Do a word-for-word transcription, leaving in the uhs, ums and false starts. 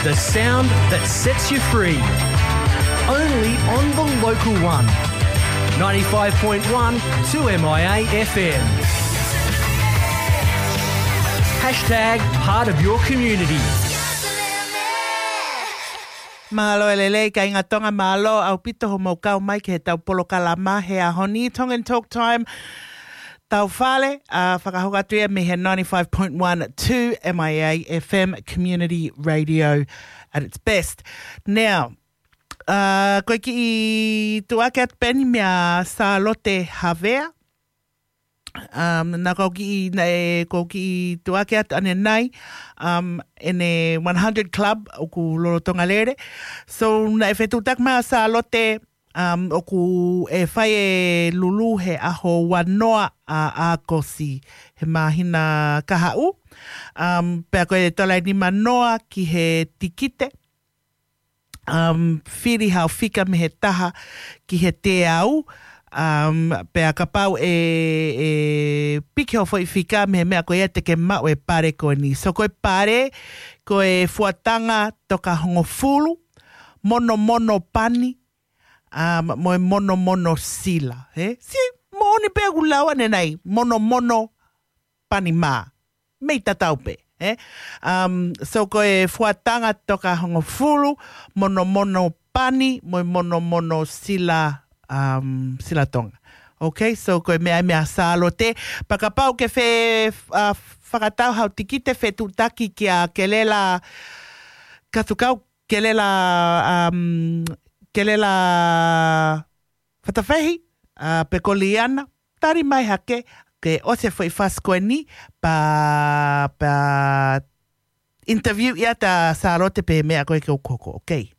The sound that sets you free. Only on the local one. Ninety-five point one two M I A F M. Hashtag part of your community. Mālō e lelei kāinga Tonga, mālō ʻaupito hoʻomou kau mai ki heʻetau polokalama he ʻaho ni, Tongan Talk Time. Tau fale, ʻa, fakahoko atu ia mei he ninety-five point one two M I A F M Community Radio at its best. Now, ʻa, ko e kiʻi tuʻuaki atu pē eni meia Sālote Havea. Um, naʻa ko e kiʻi, naʻe, ko e kiʻi tuʻuaki atu ʻanenai, um, ʻene one hundred Club ʻoku lolotonga lele. So, naʻe fetuʻutaki mai ʻa Sālote, um, ʻoku ʻe fai e lulu he ʻaho ua noa ʻa ʻAokosi he māhina kahaʻu. Um, pea ko e tola ʻe nima noa ki he tikite. Um, fili hao fika mei he taha ki he teau. Um, pea kapau ʻe, ʻe piki hoʻo foʻi fika mei he meʻa ko ia te ke maʻu e pale ko eni. So ko e pale, ko e fuatanga toka hongofulu, monomono pani, um, mo e monomono sila, ē? Sio, moʻoni pē ʻoku lau ʻanenai, monomono pani mā. Mei tatau pē, ē? Um, so ko e fuatanga toka hongofulu, monomono pani, mo e monomono sila, um, sila Tonga. Okay, so ko e meʻa ia meia Sālote. Pea kapau ʻoku ke fie, uh, fakatau hao tikite, fetuʻutaki kia Kelela Katukau, Kelela, um, Kelela Fatafehi, ʻa, pe ko Liana, tali mai hake, ke ʻosi e foʻi fasi ko eni, pea, pea interview ia ʻa Sālote pe meʻa ko ē ke u hoko, okay?